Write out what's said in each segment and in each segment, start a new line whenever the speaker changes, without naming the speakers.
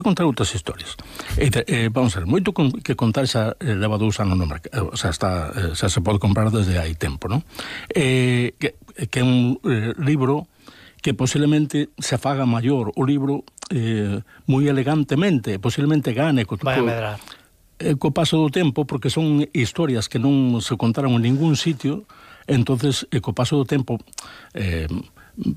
contar outras historias. Vamos a ver, moito que contar xa leva 2 anos no mercado, xa se pode comprar desde hai tempo, non? Que é un libro que posiblemente se faga maior o libro moi elegantemente, posiblemente gane co paso do tempo, porque son historias que non se contaron en ningún sitio. Entonces, co paso do tempo,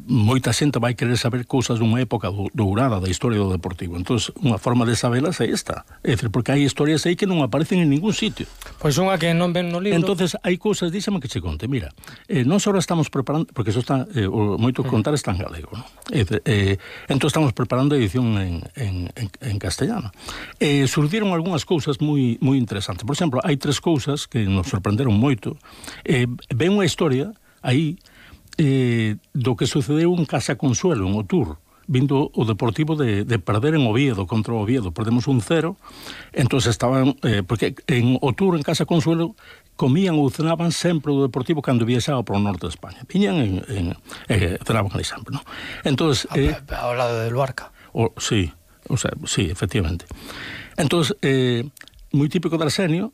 moita xente vai querer saber cousas dunha época dourada da historia do Deportivo. Entonces, unha forma de sabelas é esta. É dicir, porque hai historias aí que non aparecen en ningún sitio.
Pois unha que non ven no libro.
Entonces, hai cousas, díxame que che conte. Mira, nós ahora estamos preparando, porque eso está, moito que contar está en galego, non? Entón estamos preparando a edición en castellano. Surdiron algunhas cousas moi interesantes. Por exemplo, hai 3 cousas que nos sorprenderon moito. Ven unha historia aí do que sucedeu en Casa Consuelo, en Otur, vindo o Deportivo de perder en Oviedo, contra o Oviedo. Perdemos 1-0, entón estaban, porque en Otur, en Casa Consuelo, comían ou cenaban sempre o Deportivo cando viaxaba para o norte de España. Viñan cenaban ali sempre, non? Entón,
ao lado de Luarca.
Sí, efectivamente. Entón, moi típico de Arsenio,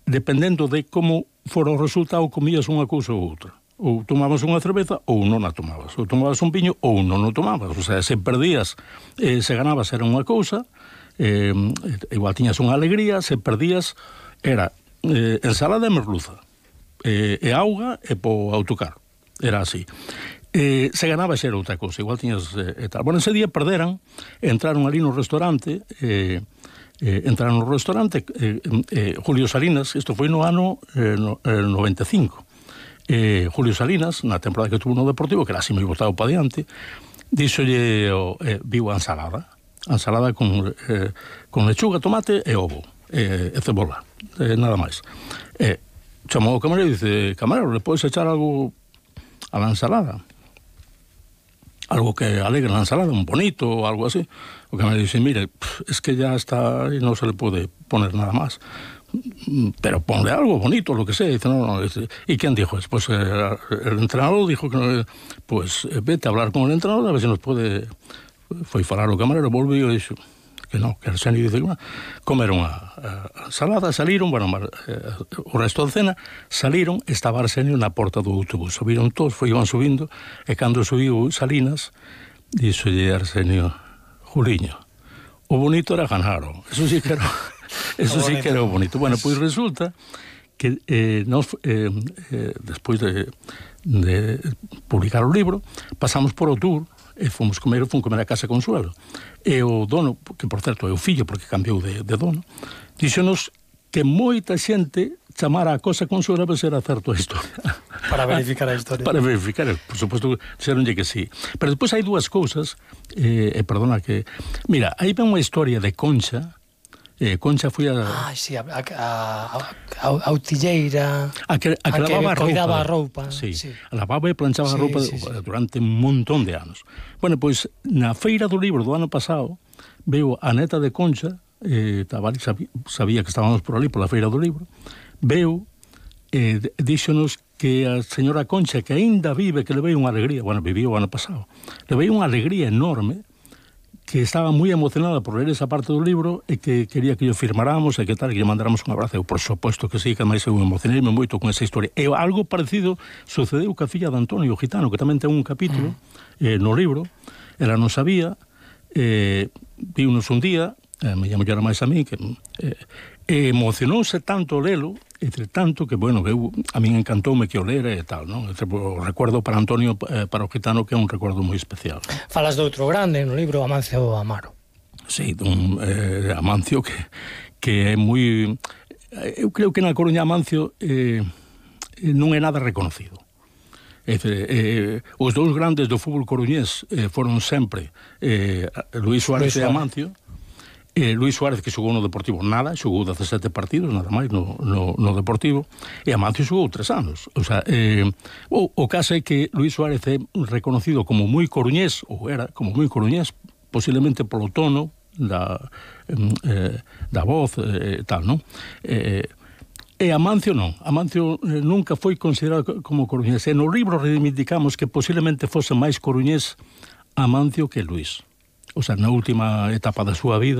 dependendo de como fora o resultado, comías unha cousa ou outra. Ou tomabas unha cerveza ou non a tomabas, ou tomabas un piño ou non o tomabas. O sea, se perdías, se ganabas era unha cousa, igual tiñas unha alegría. Se perdías era ensalada e merluza, e auga e po autocar, era así. Se ganabas era outra cousa, igual tiñas tal. Bueno, ese día perderan, entraron ali no restaurante, Julio Salinas, isto foi no ano 95. Julio Salinas, na temporada que tuvo no Deportivo, que era así moi botado para diante, díxolle, viu a ensalada con lechuga, tomate e ovo, e cebola, nada máis. Chamou o camarero e dice: camarero, le podes echar algo a la ensalada? Algo que alegre la ensalada, un bonito o algo así. O camarero dice: mire, es que ya está y no se le puede poner nada más. Pero ponle algo bonito, lo que sea. Dice, no. ¿Y quién dijo? Pues el entrenador dijo que pues vete a hablar con el entrenador a ver si nos puede. Foi falar o camarero, volvió e dixo que no, que Arsenio dice que no. Comeron a ensalada, saliron, bueno, o resto da cena, saliron, estaba Arsenio na porta do autobús. Subiron todos, iban subindo, e cando subiu Salinas, dixolle Arsenio: Juliño, o bonito era ganaron. Eso sí que era... Eso sí que era bonito. Bueno, pois resulta que despois de publicar o libro, pasamos por Otur e fomos comer a Casa Consuelo. E o dono, que por certo é o fillo porque cambiou de dono, díxonos que moita xente chamara a Casa Consuelo para ser certo a historia.
Para verificar a historia.
Para verificar, por suposto, dixeronlle que sí. Pero despois hai 2 cousas, perdona que... Mira, aí ven unha historia de Concha. Concha foi a...
sí, a utilleira... A que lavaba a roupa.
Sí, lavaba e planchaba a roupa durante un montón de anos. Bueno, pois, na feira do libro do ano pasado, veo a neta de Concha, sabía que estábamos por ali, pola feira do libro, veo, díxonos que a señora Concha, que aínda vive, que le veio unha alegría, bueno, viviu o ano pasado, le veio unha alegría enorme, que estaba moi emocionada por ler esa parte do libro e que quería que yo firmáramos e que tal, que lle mandáramos un abrazo. Eu, por suposto que sí, que máis eu emocionei moito con esa historia. E algo parecido sucedeu ca filla de Antonio Gitano, que tamén ten un capítulo no libro. Ela non sabía, viunos un día, me llamo yo máis a mí, que emocionouse tanto lelo, entre tanto que, bueno, a min encantoume que o lera e tal, non? O recuerdo para Antonio, para o Gitano, que é un recuerdo moi especial.
Falas de outro grande no libro, Amancio Amaro.
Sí, dun Amancio que é moi... Eu creo que na Coruña Amancio non é nada reconocido. Os 2 grandes do fútbol coruñés foron sempre Luís Suárez e Amancio. Luís Suárez, que xogou no Deportivo nada, xogou 17 partidos, nada máis no Deportivo, e Amancio xogou 3 anos. O sea, o caso é que Luís Suárez é reconocido como moi coruñés, ou era como moi coruñés, posiblemente polo tono da voz e tal, non? E Amancio non. Amancio nunca foi considerado como coruñés. E no libro reivindicamos que posiblemente fose máis coruñés Amancio que Luís. O sea, na última etapa da súa vida,